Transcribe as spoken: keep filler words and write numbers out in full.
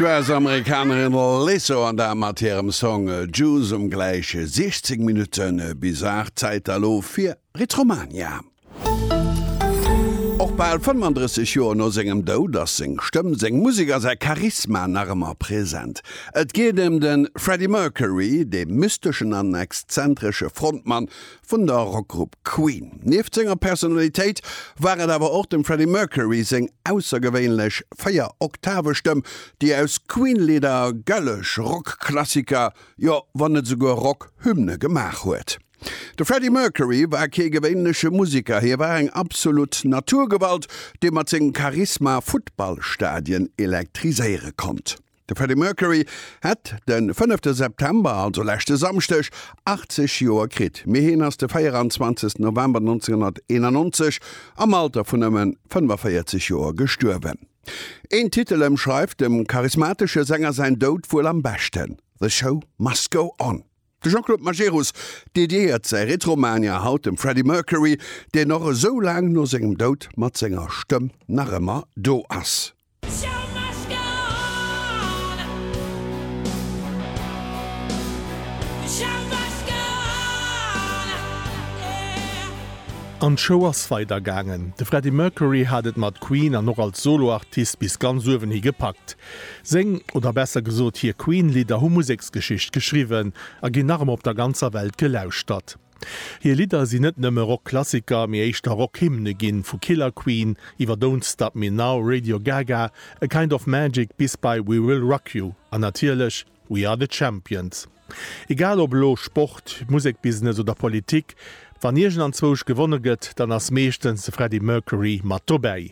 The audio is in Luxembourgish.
D'US-Amerikanerin Lizzo an dat mat hirem Song Juice um gläich siechzéng Minutte bis aacht. Zäit elo fir Retromania. Och bal fënnfandrësseg Joer no sengem Doud ass seng Stëmm, seng Musek a säi Charisma nach ëmmer present. Et geet ëm de Freddie Mercury, dee mysteschen an exzentresche Frontmann vun der Rockgrupp Queen. Nieft senger Personalitéit war et awer och dem Freddie Mercury seng aussergewéinlech Véier-Oktave-Stëmm, déi aus Queen-Lidder gëlleg Rock-Klassiker, jo wann net esouguer Rock-Hymne gemaach huet. De Freddie Mercury war kee gewéinleche Museker, hie war eng absolut Naturgewalt, déi mat sengem Charisma Futtballstadien elektriséiere konnt. De Freddie Mercury hätt de fënnefte September, also leschte Samschdeg, achtzeg Joer kritt, mee hien ass de véieranzwanzegsten November nonzénghonnerteenannonzeg am Alter vun nëmme fënnefaféierzeg Joer gestuerwen. Een Titel ëmschreift dem charismatesche Sänger säin Doud wuel am beschten, The Show Must Go On. De Jean-Claude Majerus dediéiert säi Retromania haut dem Freddie Mercury, deen och esou laang no sengem Doud mat senger Stëmm nach ëmmer do ass. An d'Show ass weider gaangen. De Freddie Mercury hat et mat Queen an och als Solo-Artist bis ganz uewen hi gepackt. Seng, oder besser gesot hir Queen-Lidder hu Museksgeschicht geschriwwen a ginn nach ëmmer op der ganzer Welt gelauschtert. Hir Lidder sinn net nëmme Rock-Klassiker, mee éischter Rock-Hymne ginn, vu Killer Queen iwwer Don't Stop Me Now, Radio Ga Ga, A Kind of Magic bis bei We Will Rock You an natierlech We Are The Champions. Egal ob elo Sport, Musekbusiness oder Politik, wann iergendanzwousch gewonne gëtt, dann ass meeschtens de Freddie Mercury mat dobäi.